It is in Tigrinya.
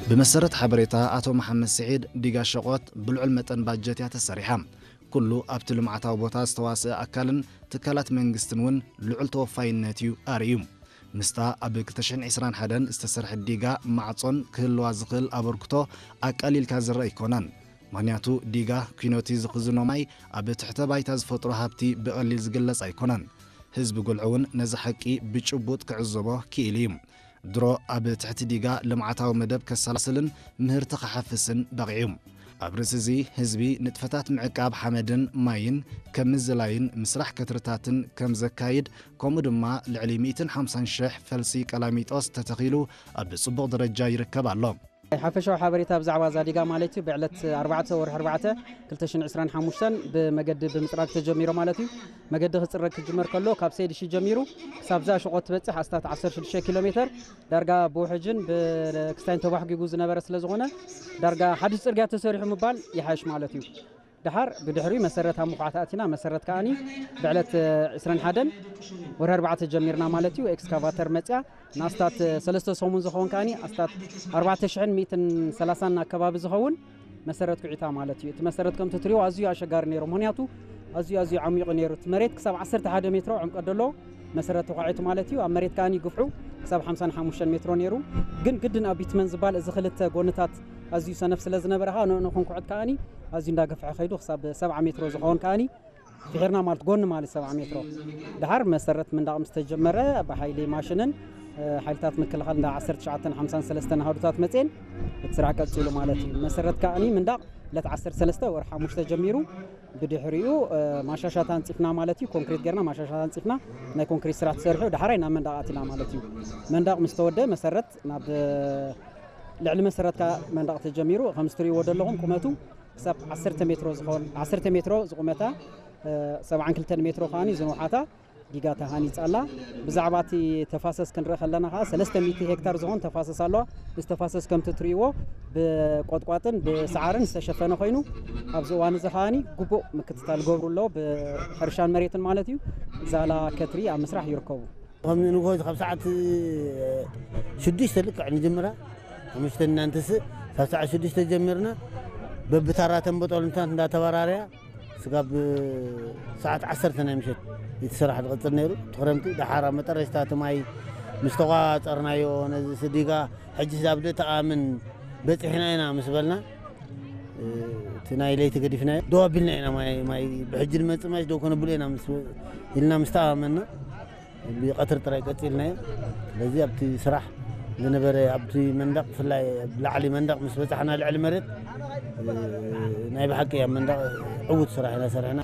ብመሰረት ሓበሬታ ኣቶ መሓመድ ስዒድ፣ ዲጋ ሸቖት ብልዑል መጠን ባጀት እያ ተሰሪሓ። ኩሉ ኣብቲ ልምዓታዊ ቦታ ዝተዋስአ ኣካልን ትካላት መንግስትን እውን ልዑል ተወፋይነት እዩ ኣርእዩ። ምስታ ኣብ ክልተ ሽሕን ዕስራን ሓደን ዝተሰርሐት ዲጋ ማዕጾን ክህልዋ ዝኽእል ኣበርክቶ ኣቃሊልካ ዝረአ ኣይኮነን። ምኽንያቱ ዲጋ ኲኖቲ ዝኽዝኖ ማይ ኣብ ትሕተ ባይታ ዝፈጥሮ ሃብቲ ብቐሊል ዝግለጽ ኣይኮነን። ህዝቢ ጉልዒ እውን ነዚ ሓቂ ብጭቡጥ ክዕዘቦ ክኢሉ እዩ። ድሮ ኣብ ትሕቲ ዲጋ ልምዓታዊ መደብ ከሰላስልን ምህርቲ ክሓፍስን በቒዑ። ኣብ ርእሲ እዚ ህዝቢ ንጥፈታት ምዕቃብ ሓመድን ማይን ከም ምዝላይን ምስራሕ ከትርታትን ከም ዘካይድ፣ ከምኡ ድማ ልዕሊ ሚእትን ሓምሳን ሽሕ ፈልሲ ቀላሚጦስ ተተኺሉ ኣብ ጽቡቕ ደረጃ ይርከብ ኣሎ። ሓፈሻዊ ሓበሬታ ብዛዕባ እዛ ዲጋ ማለት እዩ፣ ብዕለት ኣርባዕተ ወርሒ ኣርባዕተ ክልተ ሽሕን ዕስራን ሓሙሽተን ብመገዲ ብምጽራግ ተጀሚሩ ማለት እዩ። መገዲ ክጽረግ ክጅመር ከሎ ካብ ሰይድ ሺ ጀሚሩ ክሳብ እዛ ሸቖት ትበጽሕ ኣስታት ዓሰርተ ሽዱሽተ ኪሎ ሜተር ዳርጋ ብውሕጅን ብክስታይን ተባሕጒጉ ዝነበረ ስለ ዝኾነ ዳርጋ ሓድሽ ጽርግያ ተሰሪሑ ምባል ይሓይሽ ማለት እዩ። ደሓር ብድሕሪኡ መሰረት ኣብ ምኹዓት ኣቲና፣ መሰረት ከኣኒ ብዕለት ዕስራን ሓደን ወርሒ ኣርባዕተ ጀሚርና ማለት እዩ። ኤክስካቫተር መጽያ ንኣስታት ሰለስተ ሰሙን ዝኸውን ከኣኒ ኣስታት ኣርባዕተ ሽሕን ሚእትን ሰላሳን ኣከባቢ ዝኸውን መሰረት ኩዒታ ማለት እዩ። እቲ መሰረት ከምቲ ትሪኦ ኣዝዩ ኣሸጋሪ ነይሩ። ምኽንያቱ ኣዝዩ ኣዝዩ ዓሚቑ ነይሩ። እቲ መሬት ክሳብ ዓሰርተ ሓደ ሜትሮ ዕምቀት ደሎ መሰረት ተኳዒቱ ማለት እዩ። ኣብ መሬት ከኣኒ ግፍሑ ክሳብ ሓምሳን ሓሙሽተን ሜትሮ ነይሩ። ግን ግድን ኣብ ቢትመን ዝባል እዚ ክልተ ጎንታት ኣዝዩ ሰነፍ ስለ ዝነበረ ኸኣ ንዕኡ ክንኩዕት ከኣኒ ኣዝዩ እንዳገፍሐ ከይዱ ክሳብ ሰብዓ ሜትሮ ዝኸውን ከኣኒ ፍሒርና ማለት ጎኒ ማለት ሰብዓ ሜትሮ። ደሓር መሰረት ምንዳቕ ምስ ተጀመረ ብሓይሊ ማሽንን፣ እ፣ ሓይልታት ምክልኻል እንዳ ዓሰርተ ትሽዓተን ሓምሳን ሰለስተን ኣሃዱታት መጽየን እቲ ስራሕ ቀጺሉ ማለት እዩ። መሰረት ከኣኒ ምንዳቕ ዕለት ዓሰርተ ሰለስተ ወርሒ ሓሙሽተ ጀሚሩ ብድሕሪኡ፣ እ፣ ማሻሻት ኣንጺፍና ማለት እዩ። ኮንክሪት ጌርና ማሻሻት ኣንጺፍና ናይ ኮንክሪት ስራሕ ተሰሪሑ ደሓራይ ናብ መንዳቕ ኣቲና ማለት እዩ። መንዳቕ ምስ ተወደ መሰረት ናብ፣ እ፣ ልዕሊ መሰረት ከኣ መንዳቕ ተጀሚሩ። ከም እትርእይዎ ዘለኹም ቁመቱ ክሳብ ዓሰርተ ሜትሮ ዝኸውን፣ ዓሰርተ ሜትሮ ዝቑመታ፣ እ፣ ሰብዓን ክልተን ሜትሮ ከኣኒ ዝንውሓታ ዲጋ ተሃኒጻ ኣላ። ብዛዕባ እቲ ተፋሰስ ክንርኢ ከለና ከኣ ሰለስተ ሚእቲ ሄክታር ዝኸውን ተፋሰስ ኣለዋ። እዚ ተፋሰስ ከምቲ ትርእይዎ ብቆጥቋጥን ብሰዓርን ዝተሸፈነ ኮይኑ ኣብዚ እዋን እዚ ከኣኒ ግቡእ ምክትታል ገብሩ ኣሎ ብሕርሻን መሬትን ማለት እዩ። ዛላ ከትሪ ኣብ ምስራሕ ይርከቡ። ከም ንግሆ ካብ ሰዓት ሽዱሽተ ልክዕ ንጅምራ፣ ሓሙሽተ እናንትስእ ካብ ሰዓት ሽዱሽተ ጀሚርና በብታራ ተንበጦልንታት እንዳተበራረያ ስጋብ ሰዓት ዓሰርተ ናይ ምሸት እቲ ስራሕ ዝቕጽል ነይሩ። እቲ ክረምቲ ደሓር ኣብ መጠረሽታ እቲ ማይ ምስ ተቋጸርናዮ ነዚ ስዲጋ ሕጂ ኣብ ደተኣምን በጺሕና ኢና ምስ በልና፣ እቲ ናይ ለይቲ ገዲፍናዮ ደው ኣቢልና ኢና። ማይ፣ ማይ ብሕጂ ዝመጽእ ማይ ደው ከነብሎ ኢና ምስ፣ ኢልና ምስ ተኣማመንና ብቐትሪ ጥራይ ቀጺልናዮ። ስለዚ ኣብቲ ስራሕ ዝነበረ ኣብቲ መንደቕ ብፍላይ ኣብ ላዕሊ መንደቕ ምስ በጻሕና ልዕሊ መሬት፣ እ፣ ናይ ብሓቂ ኣብ መንደቕ ዕዉት ስራሕ ኢና ሰሪሕና።